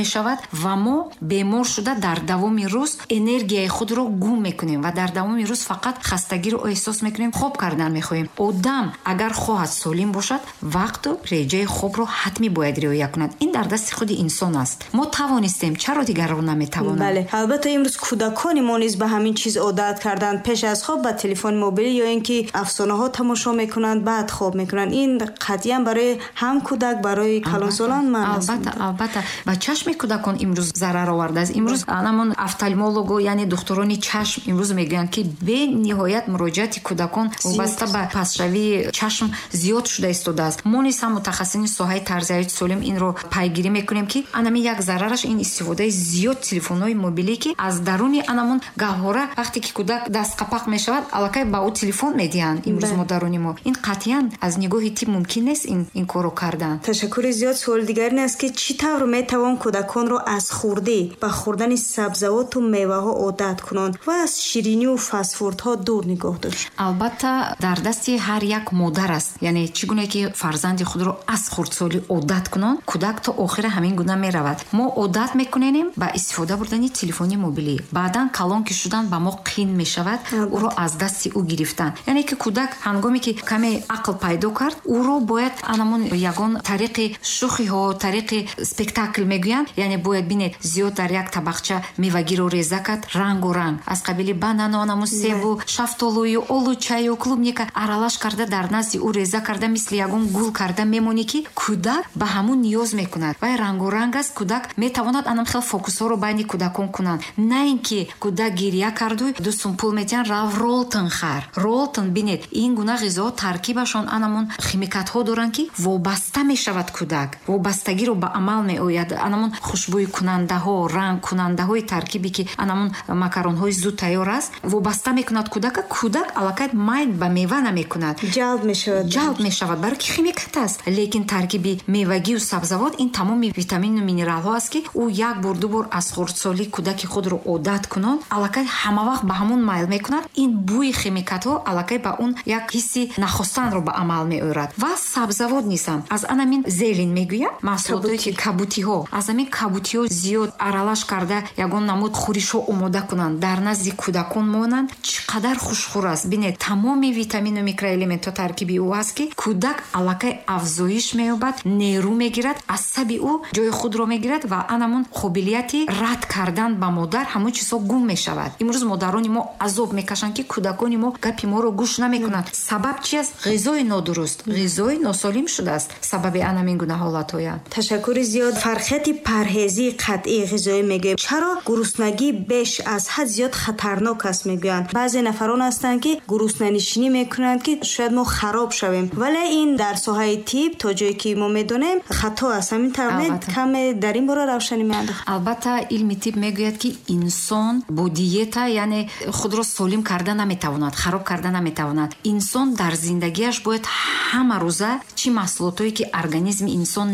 Мешавад ва мо бемор шуда, дар давоми рӯз энергияи худро гум мекунем ва дар давоми рӯз фақат хастагиро эҳсос мекунем, хоб кардан мехоҳем. Одам агар хоҳад солим бошад, вақту реҷаи хобро ҳатмӣ бояд риоя кунад. Ин дар дасти худи инсон аст. Мо тавонистем, чаро дигарро наметавонанд? Бале, албатта, имрӯз кӯдакони мо низ ба ҳамин чиз одат карданд. Пеш аз хоб ба телефони мобилӣ ё ин ки афсонаҳо тамошо мекунанд, баъд хоб мекунанд. Ин қатъиян барои ҳам кӯдак, барои калонсолон манъ аст. Албатта, ба чашми кӯдакон имрӯз зарар овардааст. Имрӯз анамон офтальмолого, яъне духтурони чашм, имрӯз мегӯянд, ки бениҳоят муроҷиати кӯдакон вобаста ба пастшавии чашм зиёд шуда истодааст. Мо низ ҳам, мутахассисини соҳаи тарзи ҳаёти солим, инро пайгирӣ мекунем, ки анами як зарараш ин истифодаи зиёд телефонҳои мобилӣ, ки аз даруни анамон гаҳвора, вақте ки кӯдак дастқапақ мешавад, аллакай ба ӯ телефон медиҳанд имрӯз модарони мо. Ин қатъиян аз нигоҳи тиб мумкин нест ин корро кардан. Ташаккури зиёд. Суоли дигар ин аст, ки чӣ тавр метавон кӯдаконро аз хурдӣ ба хӯрдани сабзавоту меваҳо одат кунанд ва аз ширинию фастфудҳо дур нигоҳ дошт? Албатта, дар дасти ҳар як модар аст. Яъне чӣ гуна ки фарзанди худро аз хурдсолӣ одат кунон, кӯдак то охира ҳамин гуна меравад. Мо одат мекуненем ба истифода бурдани телефони мобилӣ, баъдан калон ки шудан, ба мо қин мешавад ӯро аз дасти ӯ гирифтан. Яъне ки кӯдак ҳангоме ки каме ақл пайдо кард, ӯро бояд анамон ягон тариқи шӯхиҳо, тариқи спектакл мегӯянд, яъне бояд, бинед, зиёд дар як табақча мевагиро реза кард, рангу ранг, аз қабили банану анамун севу шафтолую олучаю клубника аралаш карда, дар назди ӯ реза карда, мисли ягон гул карда мемонӣ, ки кӯдак ба ҳамун ниёз мекунад. Вай рангу ранг аст, кӯдак метавонад анам хел фокусҳоро байни кӯдакон кунанд. На ин ки кӯдак гиря карду 2 сум пул метиҳанд, рав, Ролтон хар, Ролтон. Бинед, ин гуна ғизоҳо таркибашон анамон химикатҳо доранд, ки вобаста мешавад кӯдак, вобастагиро ба амал меояд. Анамон хушбӯйкунандаҳо, рангкунандаҳои таркибе, ки анамон макаронҳои зуд тайёр аст, вобаста мекунад кӯдака. Кӯдак аллакай майл ба мева намекунад. Ҷалб мешавад. Ҷалб мешавад, барои ки химикат аст. Лекин таркиби мевагию сабзавот ин тамоми витамину минералҳо аст, ки ӯ як бор, ду бор аз хурдсолӣ кӯдаки худро одат кунон, аллакай ҳама вақт ба ҳамон майл мекунад. Ин бӯи химикатҳо аллакай ба он як ҳисси нахостанро ба амал меорад. Ва сабзавот низам аз анамин зелень мегӯям, маҳсулотое ки кабутиҳо, аз ҳамин кабутиҳо зиёд аралаш карда, ягон намуд хӯришҳо омода кунанд, дар назди кӯдакон монанд. Чӣ қадар хушхӯр аст! Бинед, тамоми витамину микроэлементҳо таркиби ӯ аст, ки кӯдак аллакай афзоиш меёбад, нерӯ мегирад, асаби ӯ ҷои худро мегирад ва анамон қобилияти рад кардан ба модар ҳамон чизҳо гум мешавад. Имрӯз модарони мо азоб мекашанд, ки кӯдакони мо гапи моро гӯш намекунанд. Сабаб чи аст? Ғизои нодуруст, ғизои носолим шудааст сабаби анамин гуна ҳолатҳоя. Ташаккури зиёд. Фарқияти парҳезии қатъии ғизоӣ мегӯем. Чаро гуруснагӣ беш аз ҳад зиёд хатарнок аст мегӯянд? Баъзе нафарон ҳастанд, ки гуруснанишинӣ мекунанд, ки шояд мо хароб шавем, вале ин дар соҳаи тиб, то ҷое ки мо медонем, хато аст. Ҳамин тавр? Каме дар ин бора равшанӣ меандохт. Албатта, илми тиб мегӯяд, ки инсон бо диета, яъне худро солим карда наметавонад, хароб карда наметавонад. Инсон дар зиндагиаш бояд ҳама рӯза чӣ маҳсулотое ки организми инсон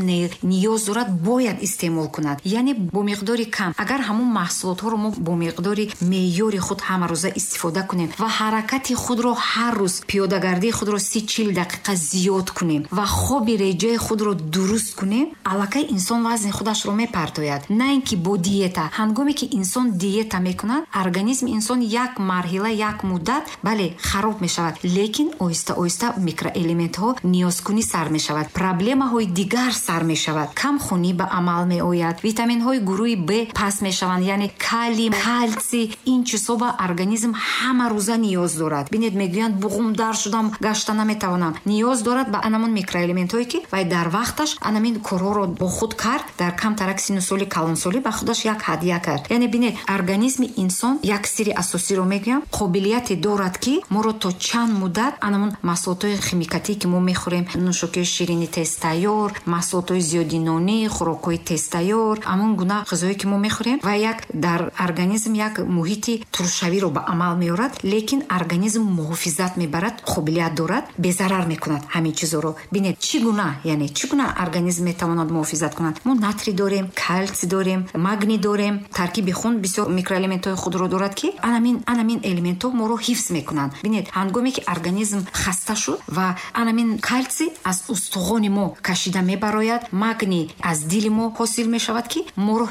ниёз дорад, бояд истеъмол кунад, яъне бо миқдори кам. Агар ҳамон маҳсулотҳоро мо бо миқдори меъёри худ ҳама рӯза истифода кунем ва ҳаракати худро ҳар рӯз, пиёдагардии худро 30-40 дақиқа зиёд кунем ва хоби реҷаи худро дуруст кунем, аллакай инсон вазни худашро мепартояд, на ин ки бо диета. Ҳангоме ки инсон диета мекунад, организми инсон як марҳила, як муддат, бале, хароб мешавад, лекин оҳиста оҳиста микроэлементҳо ниёзкунӣ сар мешавад, проблемаҳои дигар сар мешавад, камхунӣ ба амал меояд, витаминҳои гурӯҳи Б паст мешаванд, яъне калий, калсий. Ин чизҳо ба организм ҳама рӯза ниёз дорад. Бинед, мегӯянд: «Буғумдар шудам, гашта наметавонам». Ниёз дорад ба анамон микроэлементҳое, ки вай дар вақташ анамин корҳоро бо худ кард, дар камтарак сину соли калонсолӣ ба худаш як ҳадя кард. Яъне бинед, организми инсон, як сирри асосиро мегӯям, қобилияте дорад, ки моро то чанд муддат анамон маҳсулотҳои химикатие, ки мо мехӯрем, нӯшокиҳои ширини тезтайёр, маҳсулотҳои зиёди нонӣ, хӯрокҳои тезтайёр, ҳамон гуна ғизое ки мо мехӯрем, ва як дар организм як муҳити туршавиро ба амал меорад, лекин организм муҳофизат мебарад, қобилият дорад, безарар мекунад ҳамин чизоро. Бинед, чӣ гуна, яъне чӣ гуна организм метавонад муҳофизат кунад? Мо натрий дорем, калсий дорем, магний дорем, таркиби хун бисёр микроэлементҳои худро дорад, ки анамин элементҳо моро ҳифз мекунанд. Бинед, ҳангоме ки организм хаста шуд ва анамин калсий аз устухони мо кашида мебарояд, магний аз дили мо ҳосил. мешавад, ки моро